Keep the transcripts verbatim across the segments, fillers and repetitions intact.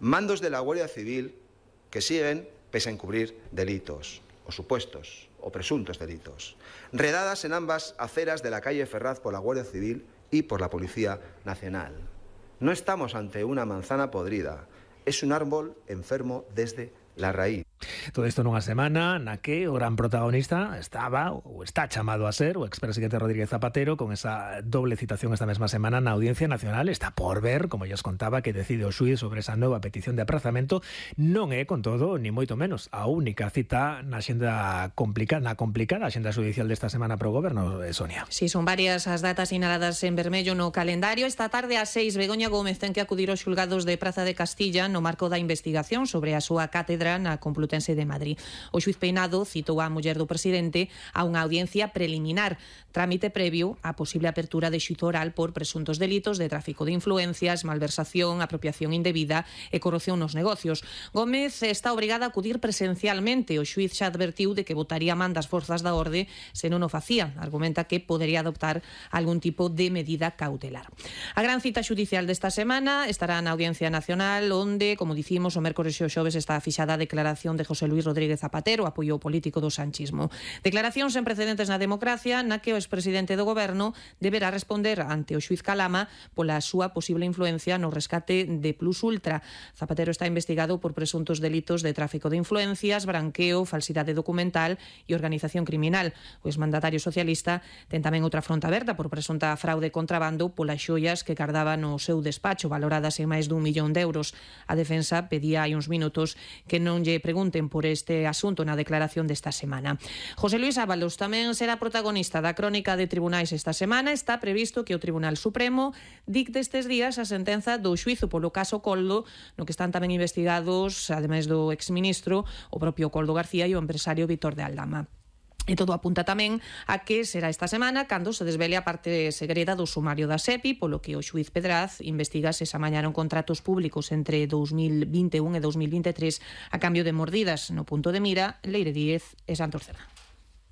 mandos de la Guardia Civil que siguen pese a encubrir delitos, o supuestos, o presuntos delitos. Redadas en ambas aceras de la calle Ferraz por la Guardia Civil y por la Policía Nacional. No estamos ante una manzana podrida, es un árbol enfermo desde la raíz. Todo isto nunha semana na que o gran protagonista estaba ou está chamado a ser o expresidente Rodríguez Zapatero, con esa doble citación esta mesma semana na Audiencia Nacional. Está por ver, como ya os contaba, que decide o xuíz sobre esa nova petición de aprazamento. Non é, con todo, ni moito menos, a única cita na xenda complicada, na complicada xenda judicial desta semana pro goberno, Sonia. Sí, son varias as datas sinaladas en vermello no calendario. Esta tarde ás seis, Begoña Gómez ten que acudir aos xulgados de Praza de Castilla no marco da investigación sobre a súa cátedra na Complutense de Madrid. O xuiz Peinado citou a muller do presidente a unha audiencia preliminar, trámite previo á posible apertura de xuízo oral por presuntos delitos de tráfico de influencias, malversación, apropiación indebida e corrupción nos negocios. Gómez está obrigada a acudir presencialmente. O xuiz xa advertiu de que botaría man das forzas da orde se non o facía. Argumenta que podería adoptar algún tipo de medida cautelar. A gran cita xudicial desta semana estará na Audiencia Nacional, onde, como dicimos, o mércores e o xoves está fixada a declaración de José Luis Rodríguez Zapatero, apoio político do sanchismo. Declaración sen precedentes na democracia, na que o expresidente do goberno deberá responder ante o xuiz Calama pola súa posible influencia no rescate de Plus Ultra. Zapatero está investigado por presuntos delitos de tráfico de influencias, branqueo, falsidade documental e organización criminal. O exmandatario socialista ten tamén outra fronte aberta por presunta fraude e contrabando polas xoias que cardaba no seu despacho, valoradas en máis dun millón de euros. A defensa pedía hai uns minutos que non lle pregunten por este asunto na declaración desta semana. José Luis Ábalos tamén será protagonista da crónica de tribunais esta semana. Está previsto que o Tribunal Supremo dicte estes días a sentenza do xuízo polo caso Coldo, no que están tamén investigados, ademais do exministro, o propio Coldo García e o empresario Víctor de Aldama. E todo apunta tamén a que será esta semana cando se desvele a parte segreda do sumario da SEPI, polo que o xuiz Pedraz investiga se se amañaron contratos públicos entre dous mil vinte e un e dous mil vinte e tres a cambio de mordidas no punto de mira Leire Díez e Santos Cerra.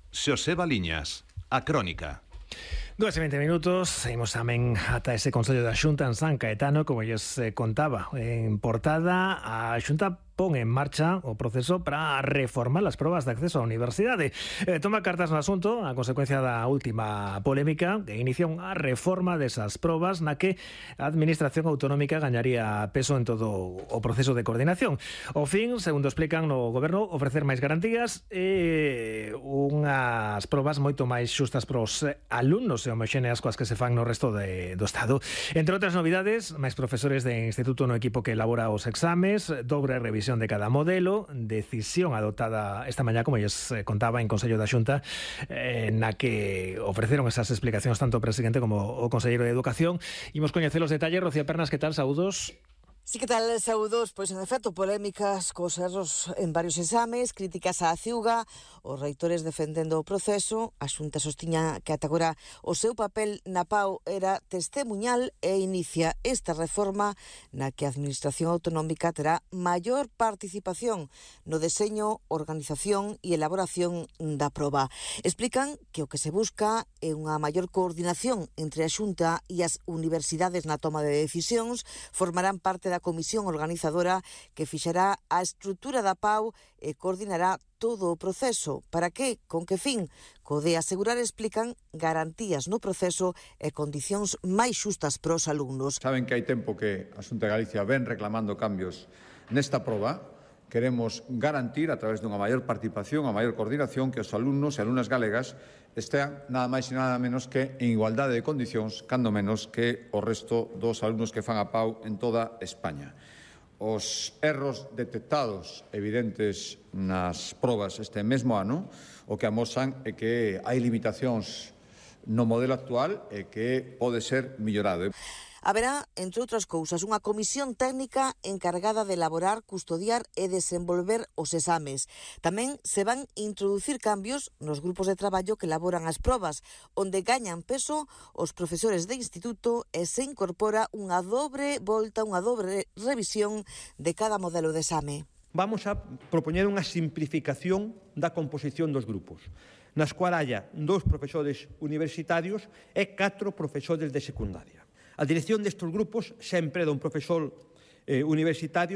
Xosé Baliñas, a crónica. Dos e vinte minutos, seguimos tamén ata ese Consello da Xunta en San Caetano, como lles contaba en portada. A Xunta pon en marcha o proceso para reformar as probas de acceso á universidade. Eh, toma cartas no asunto a consecuencia da última polémica que inicia unha reforma desas probas na que a Administración Autonómica gañaría peso en todo o proceso de coordinación. O fin, segundo explican no Goberno, ofrecer máis garantías e unhas probas moito máis xustas pros alumnos e homoxéneas coas que se fan no resto de, do Estado. Entre outras novidades, máis profesores de instituto no equipo que elabora os exames, dobre revisión de cada modelo, decisión adoptada esta mañá, como lles contaba en Consello da Xunta, eh, na que ofreceron esas explicacións tanto o presidente como o conselleiro de Educación. Imos coñecer os detalles. Rocío Pernas, que tal? Saúdos. Sí, que tal, saúdos? Pois, en efecto, polémicas cos erros en varios exames, críticas á Ciuga, os reitores defendendo o proceso. A Xunta sostiña que ata agora o seu papel na P A U era testemuñal e inicia esta reforma na que a Administración Autonómica terá maior participación no deseño, organización e elaboración da proba. Explican que o que se busca é unha maior coordinación entre a Xunta e as universidades na toma de decisións. Formarán parte da a comisión organizadora que fixará a estrutura da P A U e coordinará todo o proceso. Para que? Con que fin? Co de asegurar, explican, garantías no proceso e condicións máis xustas para os alumnos. Saben que hai tempo que a Xunta de Galicia ven reclamando cambios nesta proba. Queremos garantir, a través dunha maior participación, a maior coordinación, que os alumnos e alumnas galegas estean nada máis e nada menos que en igualdade de condicións, cando menos que o resto dos alumnos que fan a P A U en toda España. Os erros detectados evidentes nas probas este mesmo ano o que amosan é que hai limitacións no modelo actual e que pode ser millorado. Haberá, entre outras cousas, unha comisión técnica encargada de elaborar, custodiar e desenvolver os exames. Tamén se van introducir cambios nos grupos de traballo que elaboran as probas, onde gañan peso os profesores de instituto e se incorpora unha dobre volta, unha dobre revisión de cada modelo de exame. Vamos a propoñer unha simplificación da composición dos grupos, nas cual haya dous profesores universitarios e catro profesores de secundaria. A dirección destes grupos sempre dá un profesor eh, universitario